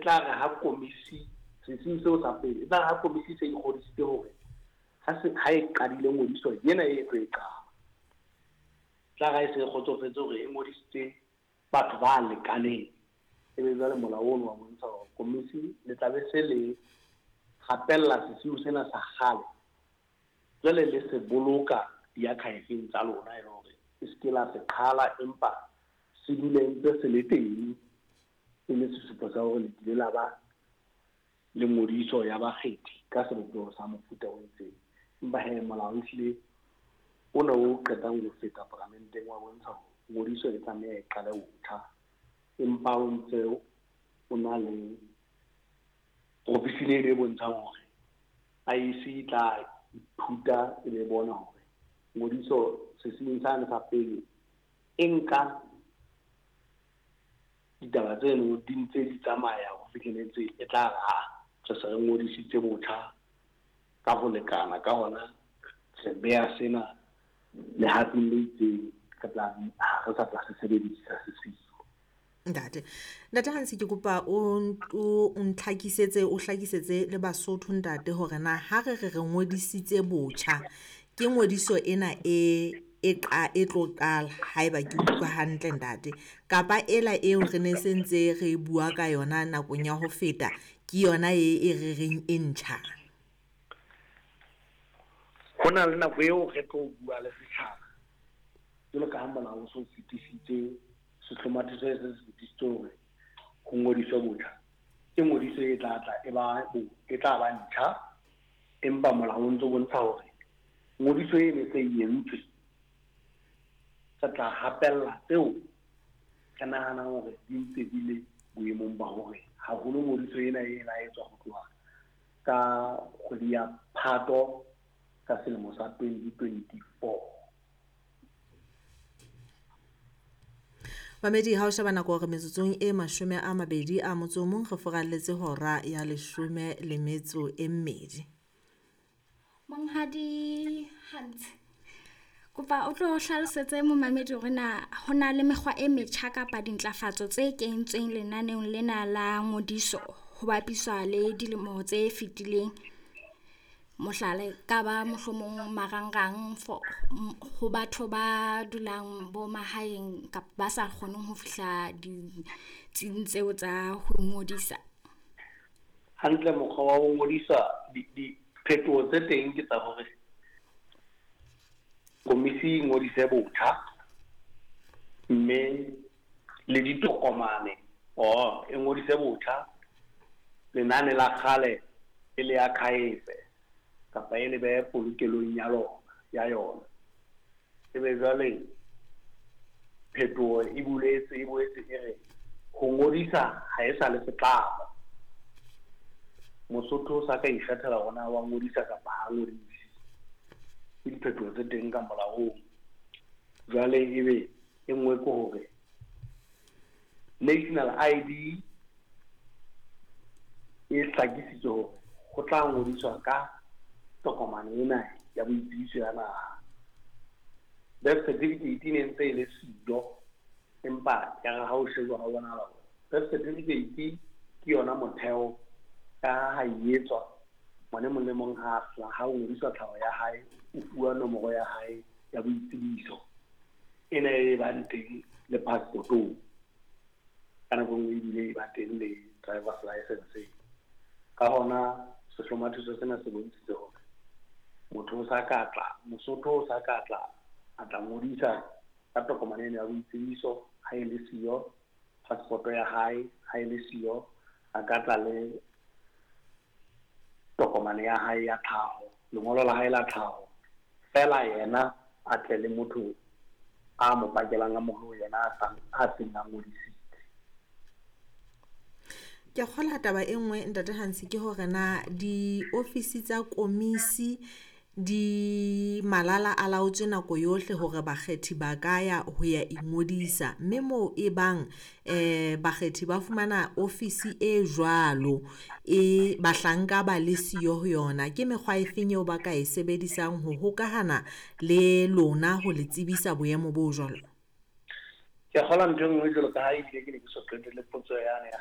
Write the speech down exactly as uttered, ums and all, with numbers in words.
tla re ha komisi sesiu seo sa pele, e tla re ha komisi se ikgodisitse hore ha se ha e qadile ngodiso ena e tlo e qala, tla re ha e se e kgotsofetse hore e ngodisitse batho ba lekaneng, ebe jwale molao ono wa bontsha hore komisi le tla be se le gapella sesiu sena sa kgale, jwale le se boloka di-archive-eng tsa lona, e le hore e se ke la se qhala, empa se dule ntse se le teng e le sesupo sa hore le kile la ba le ngodiso ya bakgethi ka sebopeho sa mofuta o itseng. Empa he molao ehlile ona o qetang ho feta paramenteng wa bontsha hore ngodiso e tlameha e qale botjha, empa o ntse o na le provision e bontshang hore I E C e tla ithuta e be bona hore ngodiso sesiung sane sa pele e nka ditaba tseno di ntse di tsamaya ho fihlelletse e tla re ha re se re ngodisitse botjha ka ho lekana, ka hona re beha sena lehatong le itseng, re tla ha re sa tla se sebedisa sesiu. Ntate, Ntate Hans, ke kopa o o ntlhakisetse, o hlakisetse le Basotho ntate hore na ha re re re ngodisitse botjha, ke ngodiso ena e e qa e tlo qala haeba ke utlwa hantle ntate, kapa ela eo re ne se ntse re bua ka yona nakong ya ho feta ke yona e e re reng e ntjha? Ho na le nako eo re tlo bua le setjhaba jwalo ka ha molao o so fetisitse, sehlomathiso se se fetisitse hore ho ngodiswe botjha, ke ngodiso e tla tla e ba e tla ba ntjha, empa molao o ntso bontsha hore ngodiso e ne se e entswe, re tla hapella tseo re nahanang hore di ntse di le boemong ba hore haholo ngodiso ena e la etswa ho tloha ka kgwedi ya Phato ka selemo sa twenty twenty-four. Mamedi, ha o sheba nako hore metsotsong e mashome a mabedi a motso o mong re furalletse hora ya leshome le metso e mmedi. Monghadi Hans, kopa o tlo hlalosetse momamedi hore na ho na le mekgwa e metjha kapa dintlafatso tse kentsweng lenaneong lena la ngodiso ho bapiswa le dilemo tse fetileng. Mohlala ka ba mohlomong marangrang for ho batho ba dulang bo mahaeng kapa ba sa kgoneng ho fihla ditsing tseo tsa ho ngodisa. Hantle mokgwa wa ho ngodisa diphetoho tse teng ke tsa hore komisi e ngodise botjha, mme le ditokomane oh e ngodise botjha, lenane la kgale e le archive kapa e le behe polokelong ya lona ya yona. Ebe jwale phetoho e buletse e boetse e re ho ngodisa ha e sa le setlamo, Mosotho o sa ka ikgethela hore na wa ngodisa kapa ha ngodise. Ke diphetoho tse teng ka molaong. Jwale ebe e nngwe ke hore National I D e hlakisitswe hore ho tla ngodiswa ka tokomane ena ya boitsebiso ya naha. Birth certificate e ne ntse e le siyo, empa ya re ha o shejwa ho bonahala hore birth certificate ke yona motheo ka ha e etswa ngwana e mong le mong ha a ha o ngodiswa tlhaho ya hae, o fuwa nomoro ya hae ya boitsebiso ena e bang teng le passport-ong, ka nako e nngwe ebile e ba teng le driver's license. Ka hona sehlomathiso sena se bontshitse hore motho o sa ka tla, Mosotho o sa ka tla a tla ngodisa ka tokomane ena ya boitsebiso ha e le siyo, passport ya hae ha e le siyo, a ka tla le tokomane ya hae ya tlhaho, lengolo la hae la tlhaho, fela yena a tle le motho a mo pakelang a moholo yena a sa a seng a ngodisitse. Ke kgola taba e nngwe Ntate Hans ke hore na diofisi tsa komisi di malala a laotswe nako yohle hore bakgethi ba ka ya ho ya ingodisa, mme moo e bang eh bakgethi ba fumana ofisi e jwalo e bahlanka ba le siyo ho yona, ke mekgwa e feng eo ba ka e sebedisang ho hokahana le lona ho le tsebisa boemo bo jwalo? Ke kgola ntho e nngwe jwalo ka ha ebile ke ne ke so qetelle potso yane ya